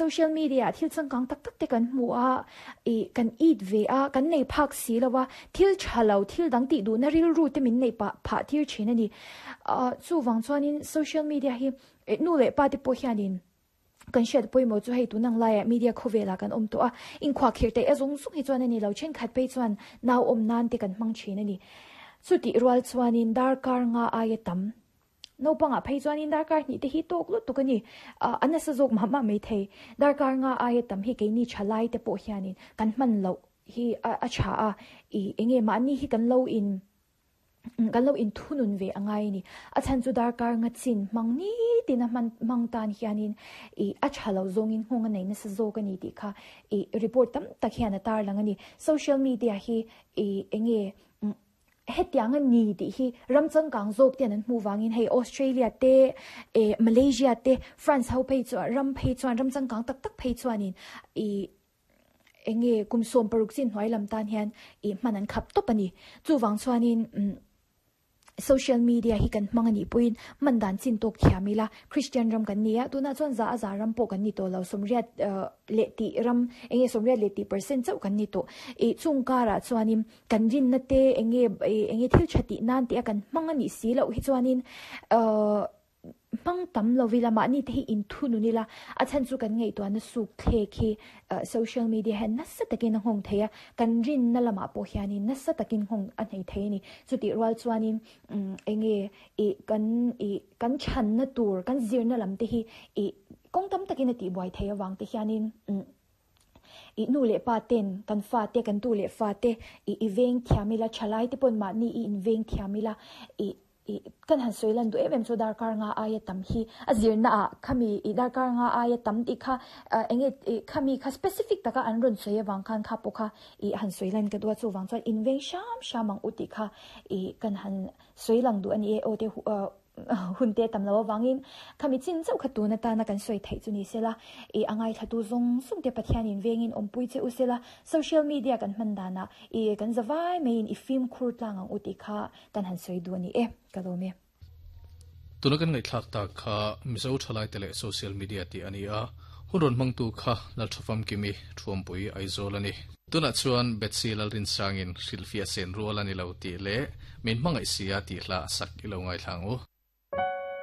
social media ah thil changkang tak tak te kan hmu a, ih kan it ve a, kan nei phak si lo a, thil tha lo thil dang tih duhna rilru te min neih pah phah tir thin a ni. Ah chuvang chuanin social media hi nu leh pa te pawh hianin kan hriat pawimawh chu hei tun ang laiah media khawvelah kan awm tawh a, inkhuahkhirh theih a zawng zawng hi chuan a ni lo, thenkhat phei chuan nau awm nan te kan hmang thin a ni. Chutih rual chuanin darkar nga aia tam Naupangah phei chuanin darkar hnih te hi tawk lutuk a ni. A nasa zawk mah mah mai thei. Darkar nga aia tam hi keini tha lai te pawh hianin kan hman loh hi a tha a, ih enge mahni hi kan lo in kan lo inthunun ve a ngai a ni. A chhan chu darkar nga chin hmang nitin a hman hmang tan hianin ih a tha lo zawngin nghawng a nei nasa zawk a ni tih kha ih report tam tak hian a tarlang a ni. Social media hi ih enge Hetiang a ni tih hi ram changkang zawk ten an hmuh vangin hei Australia te, eh Malaysia te, France ho phei chuan ram phei chuan ram changkang tak tak phei chuanin ih eng nge kum 16 chin hnuai lam tan hian ih hman an khap tawp a ni. Chuvang chuanin umm social media hi kan hmang a nih pawhin hman dan chin tawk thiam ila Christian ram kan ni a, tunah chuan za a za ram pawh kan ni tawh lo 80 leh tih ram eng nge 80 leh tih percent chauh kan ni tawh. Ih chung karah chuanin Kan rinna te eng nge eng nge thil tha tih nan tih a kan hmang a nih si loh hi chuanin ahh hmang tam lo ila mahni te hi inthunun ila a chhan chu kan ngaihtuahna suk thlek hi ah social media hian nasa takin a nghawng thei a, kan rinna lamah pawh hianin nasa takin nghawng a hnei thei a ni. Chutih rual chuanin umm eng nge ih kan ih kan chhanna tur kan zirna lam te hi ih kawng tam takin a tihbuai thei avang te hianin umm. I nu leh pa ten kan fa te kan tu leh fa te i i veng thiam ila thalai te pawn mahni i in veng thiam ila i i kan han sawi lan duh em em chu darkar nga aia tam hi a zirna ah khami i darkar nga aia tam tih kha eng nge i khami kha specific taka an rawn sawi avang khan kha pawh kha i han sawi lan ka duh a chuvang chuan in veng hram hram ang u tih kha i kan han sawi lang duh a ni e aw te Hun te tam lo avangin khami chin chauh kha tun atana kan sawi theih chu ni sela, i a ngaithlatu zawng zawng te Pathianin vengin awmpui che u sela, social media kan hman danah i kan za vai maiin i fimkhur tlang ang u tih kha kan han sawi duh a ni e, ka lawm e. Tuna kan ngaihthlak tak kha Mizo thalaite leh social media tih a ni a, hun rawn hmangtu kha Lalthafamkimi Thuampui Aizawl a ni. Tunah chuan Betsy Lalrinsangin hrilhfiah sen rual a ni lo tih leh min hmangaih sia tih hla a sak i lo ngaithla ang u.